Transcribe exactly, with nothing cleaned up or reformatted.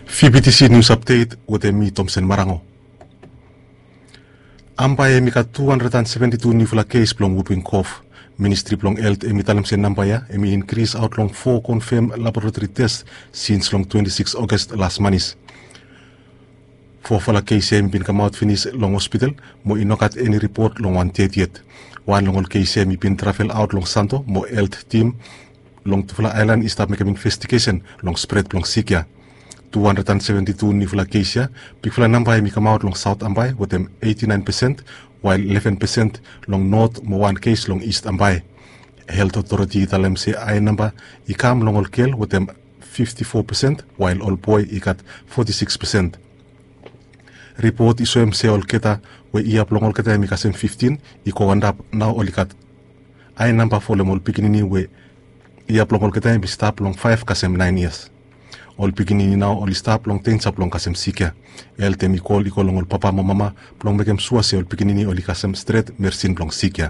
Fibitisi nius apdet wetem mi, Tomsen Marango. Ambae hem i gat tu handred an seventi tu niufala kes blong wuping kof. Ministri blong helt hem i talem se namba ya hem i inkris aot long fo konfem laboratori tes sins long twenti sikis Oges las manis. Fofala kes ya hem i bin kamaot finis long hospital mo i no gat eni ripot long wan ded yet. Wan long ol kes ya hem i bin travel aot long Santo mo helt tim long tufala aelan i stap mekem investigesen long spred blong sik ya. Tu handred an seventi tu niufala kes ya, bigfala namba hem i kamaot long Saot Ambae wetem eiti naen pesen, wael leven pesen long Not mo wan kes long Ist Ambae. Helt otoreti i talem se ae namba i kam long ol gel wetem fifti fo pesen, wael ol boe i gat foti sikis pesen. Ripot i soem se olgeta we yia blong olgeta hem i kasem fiftin i go antap, nao oli gat ae namba folem ol pikinini we yia blong olgeta hem i stap long faef kasem naen yias. Ol pikinini nao oli stap long denja blong kasem sik ya. Helt hem i kol i go long ol papa mo mama blong mekem sua se ol pikinini oli kasem stret meresin blong sik ya.